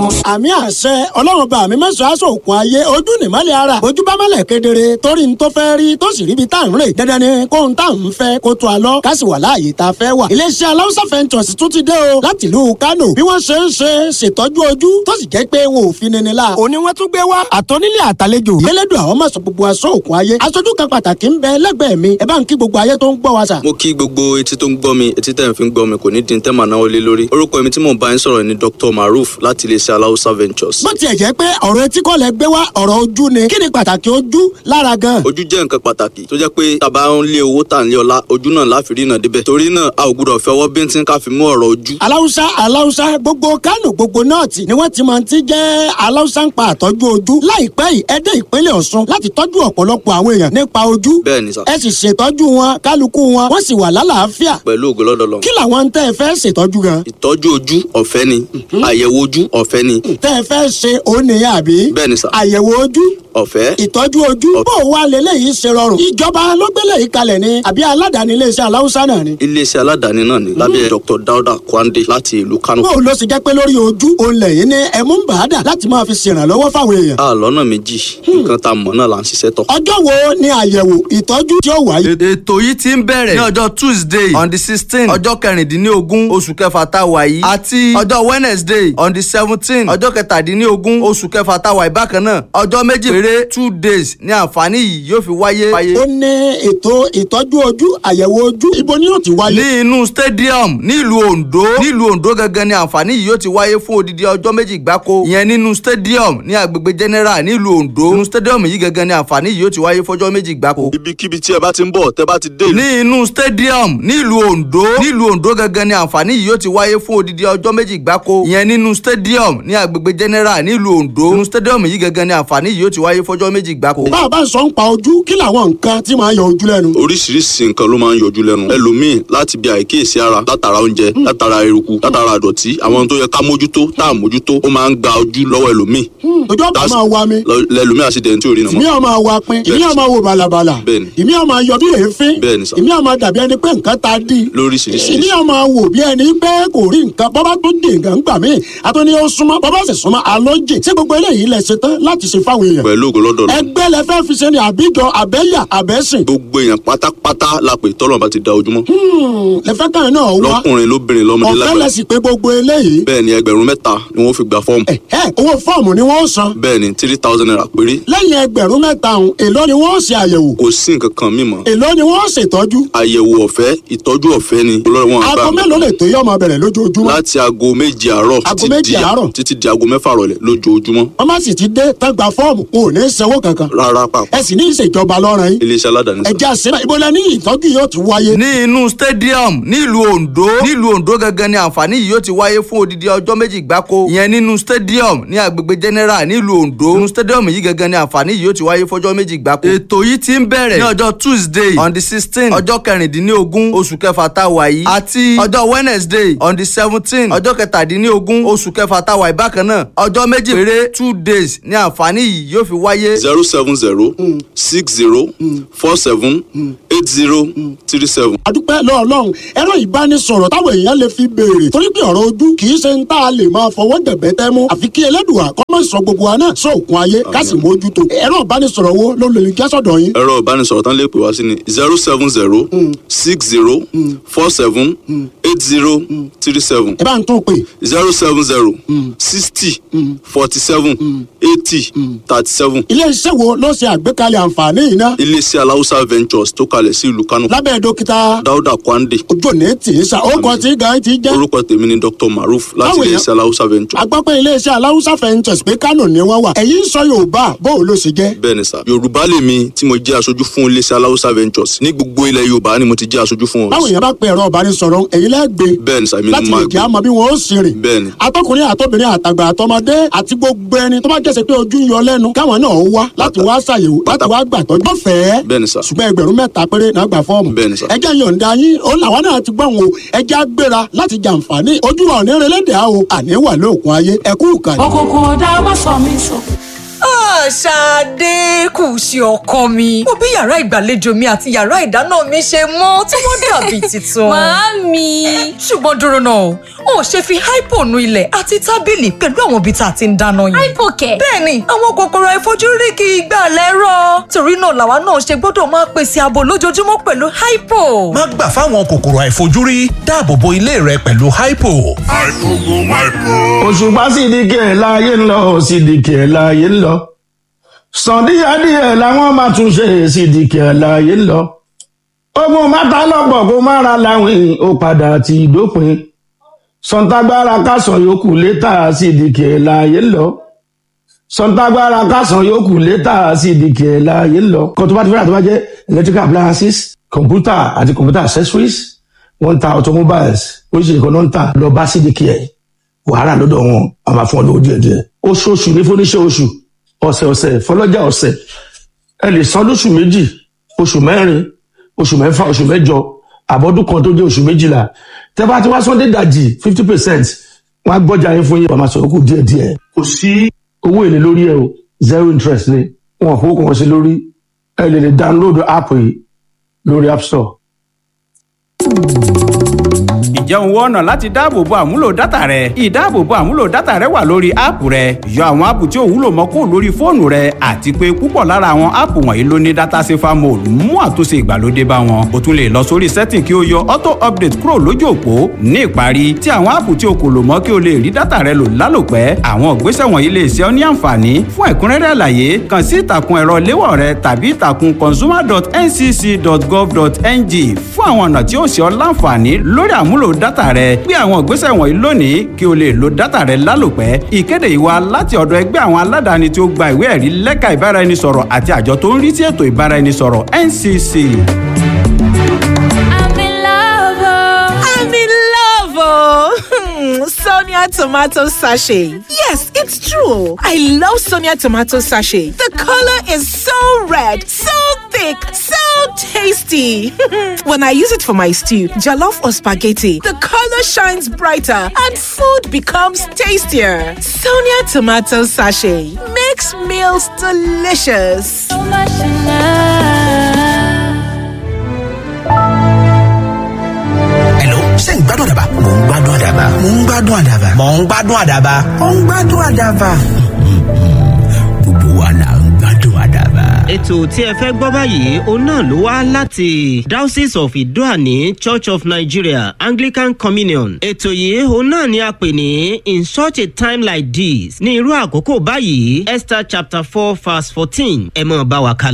wọn. Àmì àṣẹ Ọlọ́run bá mi mẹ́sàn-án aṣọ òkun ayé. Ojú nìmọ́lẹ̀ ara, ojú bá mọ́lẹ̀ kedere torí n tó fẹ́ rí tó sì ríbi tá à ń rè. Dandan ni kóhun tá à ń fẹ́ kó tó a lọ, ká sì wà láàyè tá a fẹ́ wà. Iléeṣẹ́ Aláùsá Ventures tún ti dé o láti ìlú Kánò. Bí wọ́n ṣe ń ṣe ṣètọ́jú ojú tó sì jẹ́ pé wọn ò fi nini la. Òní wọ́n tún gbé wá àtọ́nílé àtàlejò. Elédùn àwọn máa sọ gbogbo aṣọ òkun ayé. Aṣojú kan pàtàkì ń bẹ lẹ́gbẹ̀ẹ́ mi. Ẹ bá ń kí gbogbo ayé tó ń gbọ́ wa sà. Mo kí gbogbo etí tó ń gbọ́ mi, etí tẹ̀ ń fi ń gbọ́ mi kò ní di tẹ́ màá náwó lé lórí. Orúkọ mi tí mò ń bá yín sọ̀rọ̀ ni Dr. Maruf láti iléeṣẹ́ Aláùsá Ventures. Bó tiẹ̀ jẹ́ pé ọ̀rọ̀ etí kọ́ lẹ gbé wá, ọ̀rọ̀ ojú ni. Kí ni pàtàkì ojú lára gan? Ojú jẹ́ nǹkan pàtàkì tó jẹ́ pé tàbá ń lé owó, tà ń lé ọlá, ojú náà láfi rí náà débẹ̀. Torí náà, a ò gbúdọ̀ fẹ́ ọwọ́ bíntín ká fi mú ọ̀rọ̀ ojú. Aláùsá, Aláùsá, gbogbo Kánò, gbogbo nọ́ọ̀tì ni wọ́n ti máa ti jẹ́ Aláùsá ń pa àtọ́jú ojú. Láìpẹ́ yìí, ẹ dé ìpínlẹ̀ Ọ̀ṣun láti tọ́jú ọ̀pọ̀lọpọ̀ àwọn èèyàn nípa ojú. Bẹ́ẹ̀ ni sà. Ẹ sì ṣètọ́jú wọn, kálukú wọn wọ́n sì wà lálàáfíà. Pẹ̀lú ògo lọ́dọ̀ lọ. Kí làwọn tẹ́ ẹ fẹ́ ṣètọ́jú gan? Ìtọ́jú ojú ọ̀fẹ́ ni, àyẹ̀wò ojú ọ̀fẹ́ ni. Tẹ́ ẹ fẹ́ ṣe òun nìyẹn àbí? Bẹ́ẹ̀ ni sà. Àyẹ̀wò ojú, ọ̀fẹ́, ìtọ́jú ojú. Bó o wá leléyìí ṣe rọrùn? Ìjọba ló gbélé yìí kalẹ̀ ni àbí aládàáni iléeṣẹ́ Aláùsá náà ni? Iléeṣẹ́ aládàáni náà ni lábẹ́ Dr. Dauda Kwande láti ìlú Kano. Bó o lọ sì jẹ́ pé lórí ojú òun lẹ̀yìn ní ẹ̀mú ń bàá dà láti máa fi ṣèrànlọ́wọ́ fáwọn èèyàn? A lọ́nà méjì, nǹkan tá a mọ̀ náà là ń ṣiṣẹ́ tọ̀. Ọjọ́ wo ni àyẹ̀wò ìtọ́jú tí ó wáyé? Ètò yìí ti ń bẹ̀rẹ̀ ní ọjọ́ Tuesday on the 16, ọjọ́ 16 oṣù kẹfà tá a wà yìí, àti ọjọ́ Wednesday on the 17, ọjọ́ 17 oṣù kẹfà tá a wà yìí bákan náà. Ọjọ́ 2 péré, 2 days, ní àǹfààní yìí yóò fi wáyé. Ó ní ètò ìtọ́jú ojú, àyẹ̀wò ojú, ibo ni yóò ti wáyé? Ní inú stadium nílùú Ondo, nílùú Ondo gangan ni àǹfààní yìí yóò ti wáyé fún odidi ọjọ́ 2 gbáko. Ìyẹn nínú stadium ní agbègbè General nílùú Ondo. Nínú stadium yìí gangan ni àǹfààní yìí yóò ti wáyé fọjọ́ 2 gbáko. Ibikíbi tí ẹ bá ti ń bọ̀, tẹ́ bá ti dé ìlú. Ní inú stadium nílùú Ondo, nílùú Ondo gangan ni àǹfààní yìí yóò ti wáyé fún odidi ọjọ́ 2 gbáko. Ìyẹn nínú stadium ní agbègbè General nílùú Ondo. Nínú stadium yìí gangan ni àǹfààní yìí yóò ti wáyé fọjọ́ 2 gbáko. Bá a bá ń sọ ń pa ojú, kí làwọn nǹkan tí máa ń yọ ojú lẹ́nu? Oríṣiríṣi nǹkan ló máa ń yọjú lẹ́nu. Ẹlòmíì, láti bí àìkíyèsí ara, látara oúnjẹ, látara eruku, látara àdọ̀tí, àwọn tó yẹ ká mójútó tá à mójútó, ó máa ń gba ojú lọ́wọ́ ẹlòmíì. Ojú ọ̀pá máa wa mi. Lẹ́lòmíì àṣìdẹ̀ntì ò rí nà Ìmí mọ́. ọ̀ máa wa pin, ìmí ọ̀ máa wo bàlàbàlà, Bẹ́ẹ̀ni. ìmí ọ̀ máa yọ bí èéfín, Bẹ́ẹ̀ni sà. ìmí ọ̀ máa dàbí ẹni pé nǹkan ta dí, Lóríṣiríṣi. ìmí ọ̀ máa wò bí ẹni pé kò rí nǹkan. Bọ́bá tó dé nǹkan gbà mí àtúní ó súnmọ́, bọ́bá sì súnmọ́ alójì. Ṣé gbogbo eléyìí lẹ ṣe tán láti ṣe fáwọn èèyàn? Pẹ̀lú ògo lọ́dọ̀ lọ. Ẹgbẹ́ lẹ fẹ́ fi ṣe ni àbíjọ, àbẹ́yà, àbẹ́sìn? Gbogbo èèyàn pátápátá la pè tọ́lọ̀ bá ti da ojúmọ́. Lẹ fẹ́ kàn náà wá. Lọ́kùnrin, lóbìnrin, lọ́mọdé, Ọ̀fẹ́ lágbàá. lẹ sì pé gbogbo eléyìí? Bẹ́ẹ̀ ni, 3,000 ni wọ́n fi gba fọ́ọ̀mù. Ẹ owó fọ́ọ̀mù ni wọ́n san? Bẹ́ẹ̀ ni, ₦3,000 péré. Lẹ́yìn 3,000 ọ̀hún, èló ni wọ́n ṣe àyẹ̀wò? Kò sí nǹkan kan mímọ́. Èló ni wọ́n ṣètọ́jú? Àyẹ̀wò ọ̀fẹ́, ìtọ́jú ọ̀fẹ́ ni olórí wọn Aago àgbà. mélòó lè tó yọ ọmọ bẹ̀rẹ̀ lójoojúmọ́? Láti aago 7 àárọ̀ Aago 7 àárọ̀. títí di aago 6 rọ̀lẹ́ lójoojúmọ́. Wọ́n má sì ti dé tán gba fọ́ọ̀mù, wọn ò ní sanwó kankan? Rárá pàpà. Ẹ sì ní ìṣèjọba lọ́rùn yín. Iléeṣẹ́ aládàáni sà. Ẹjẹ́ àṣẹ ibo lẹ ní ìtọ́jú yóò ti wáyé? Ní inú stadium nílùú Ondo, nílùú Ondo gangan ni àǹfààní yìí yóò ti wáyé fún odidi ọjọ́ 2 gbáko. Ìyẹn nínú stadium ní agbègbè General nílùú Ondo. Nínú stadium yìí gangan ni àǹfààní yìí yóò ti wáyé fọjọ́ 2 gbáko. Ètò yìí ti ń bẹ̀rẹ̀ ní ọjọ́ Tuesday on the 16, ọjọ́ 16 oṣù kẹfà tá a wà yìí, àti ọjọ́ Wednesday on the 17, ọjọ́ 17 oṣù kẹfà tá a wà yìí bákan náà. Ọjọ́ 2 péré, 2 days, ní àǹfààní yìí yóò fi wáyé. 07060478037. Adúpẹ́ lọ́ọ̀lọ́run. Ẹ̀rọ ìbánisọ̀rọ̀ táwọn èèyàn lè fi béèrè, torí pé ọ̀rọ̀ ojú kì í ṣe ń tá a lè máa fọwọ́ dẹ̀bẹ́ tẹ́ mú, àfi kí Ẹlẹ́dùà kó má sọ gbogbo wa náà sóòkun ayé, ká sì mójútó. Ẹ̀rọ ìbánisọ̀rọ̀ wo ló lè jẹ́ sọ́dọ̀ yín? Ẹ̀rọ ìbánisọ̀rọ̀ tán lè pè wá sí ni 07060478037. Ẹ bá ń tún pè. 07060478037. Ilé iṣẹ́ wo ló ṣe àgbékalẹ̀ àǹfààní yìí náà? Iléeṣẹ́ Aláùsá Ventures tó kalẹ̀ sí ìlú Kánò. Lábẹ́ dókítà Dáúdà Kwande. Ojú òní tì í sa ó kọ tí gan ti jẹ́. Orúkọ tèmi ni Dr. Maruf láti Báwo iléeṣẹ́ Aláùsá Ventures. A gbọ́ pé iléeṣẹ́ Aláùsá Ventures pé Kánò ni wọ́n wà. Ẹ̀yin sọ Yorùbá, bó o ló ṣe jẹ́? Bẹ́ẹ̀ ni sà, Yorùbá lèmi tí mo jẹ́ aṣojú fún iléeṣẹ́ Aláùsá Ventures. Ní gbogbo ilẹ̀ Yorùbá ni mo ti jẹ́ aṣojú fún wọn. Báwo èèyàn bá pe ẹ̀rọ ìbánisọ̀rọ̀, ẹ̀yin lẹ́gbẹ̀ẹ́? Bẹ́ẹ̀ ni sà, èmi ni Láti mo lè máa jẹ́ gbé. àmọ́ bí wọ́n ó sì rìn. Bẹ́ẹ̀ ni. Atọ́kùnrin, àtọ́bìnrin, àtàgbà, àtọmọdé àti gbogbo ẹni tó bá jẹ́sẹ̀ pé ojú ń yọ lẹ́nu, káwọn náà wá láti wá ṣàyẹ̀wò, láti wá gbàtọ́jú ọ̀fẹ́. Bẹ́ẹ̀ ni sà. Ṣùgbọ́n 3,000 péré náà gbà fọ́ọ̀mù. Bẹ́ẹ̀ ni sà. Ẹjẹ́ yọ̀ǹda yín ó làwọn náà ti gbọ̀n o. Ẹjẹ́ á gbéra láti jàǹfààní ojú wa ò ní relé dè á o, àní wà lóògùn ayé. Ẹ̀kú ìkànnì. Òkùnkùn ọ̀dà má sọ mí sọ. Ṣadé kù sí ọkọ mi. Mo bí yàrá ìgbàlejò mi àti yàrá ìdáná mi ṣe mọ́ tí wọ́n dàbí tuntun. Màámi. Ṣùgbọ́n dúró náà o, ò ṣe fi hypo nu ilẹ̀ àti tábìlì pẹ̀lú àwọn ibi tá a ti ń dáná yẹn. Hypo kẹ̀. Bẹ́ẹ̀ni, àwọn kòkòrò àìfojúrí kì í gbà lẹ́rọ̀. Torí náà làwa náà ṣe gbọ́dọ̀ máa pèsè ààbò lójoojúmọ́ pẹ̀lú hypo. Má gbà fáwọn kòkòrò àìfojúrí, dáàbò bo ilé rẹ pẹ̀lú hypo. Òṣùpá Sídìkì ẹ̀ láàyè ń lọ, Sídìkì ẹ̀ láàyè ń lọ. Sàndíyàdíyẹ làwọn máa tún ṣe, Sídìkì ẹ̀ láàyè ń lọ. Ogun mátà lọ́pọ̀ kó má ra láwìn, ó padà ti dópin. Sọ̀ǹtàgbára kásán yòókù létà, Sídìkì ẹ̀ láàyè ń lọ. Sọ̀ǹtàgbára kásán yòókù létà, Sídìkì ẹ̀ láàyè ń lọ. Kan tó bá ti fẹ́ràn tó bá jẹ́ electrical appliances, computer àti computer accessories, wọ́n ń ta automobiles, oríṣiríṣi kan náà ń tà. Lọ bá Sídìkì ẹ̀, wàhálà lọ́dọ̀ wọn a máa fún ọ lówó díẹ̀ díẹ̀. Oṣooṣù ní fúnníṣẹ́ oṣù, ọ̀sẹ̀ ọ̀sẹ̀ fọlọ́jà ọ̀sẹ̀. Ẹ lè san lóṣù 2, oṣù 4, oṣù 6, oṣù 8, àbọ̀dún kan tó jẹ́ oṣù 12. Tẹ́ bá ti wá sọ́ndé dàjì 50%, wọ́n á gbọ́jà yín fún yín, wọ́n máa sọ̀rọ̀ kù díẹ̀ díẹ̀. Kò sí owó èlé lórí ẹ o, zero interest ni. Wọn kò kàn sí lórí. Ẹ lè lè download app yìí lórí App Store. Ǹjẹ́ òun wọ́n ọ̀nà láti dáàbòbo àmúlò dátà rẹ? Ìdáàbòbo àmúlò dátà rẹ wà lórí áàpù rẹ. Yọ àwọn áàpù tí ò wúlò mọ́ kúrò lórí fóònù rẹ, àti pé púpọ̀ lára àwọn áàpù wọ̀nyí ló ní data safer mode mú àtúnṣe ìgbàlódé bá wọn. O tún lè lọ sórí setting kí o yọ auto update kúrò lójú òpó. Ní ìparí, tí àwọn áàpù tí o kò lò mọ́ kí o lè rí dátà rẹ lò lálòpẹ́. Àwọn ìgbésẹ̀ wọ̀nyí lè ṣe ọ́ ní àǹfààní. Fún ẹ̀kúnrẹ́rẹ́ àlàyé, kàn sí ìtàkùn ẹ̀rọ léwọ̀ rẹ tàbí ìtàkùn consumer.ncc.gov.ng fún àwọn ọ̀nà tí ó ṣe ọ́ láǹfààní lórí àmúlò dátà rẹ. Gbé àwọn ìgbésẹ̀ wọ̀nyí lónìí kí o lè lo dátà rẹ lálòpẹ́. Ìkéde yìí wá láti ọ̀dọ̀ ẹgbẹ́ àwọn aládàáni tí ó gba ìwé ẹ̀rí lẹ́ka ìbáraẹnisọ̀rọ̀ àti àjọ tó ń rí sí ètò ìbáraẹnisọ̀rọ̀ NCC. I'm in love. I'm in love, oh. Sonia tomato sachet. Yes, it's true. I love Sonia tomato sachet. The color is so red, so thick, so tasty. When I use it for my stew, jollof or spaghetti, the color shines brighter and food becomes tastier. Sonia tomato sachet makes meals delicious. So much in love. Hello, ṣé ń gbádùn àdàbà? Mò ń gbádùn àdàbà. Mò ń gbádùn àdàbà. Mò ń gbádùn àdàbà. Mò ń gbádùn àdàbà. Gbogbo wa là ń gbádùn àdàbà. Ètò tí ẹ fẹ́ gbọ́ báyìí òun náà ló wá láti Diocese of Idoani Church of Nigeria Anglican Communion. Ètò yìí òun náà ni a pè ní In Such a Time Like This, ní irú àkókò báyìí, Esther chapter 4 verse 14. Ẹ mọ̀ bá wa kálọ.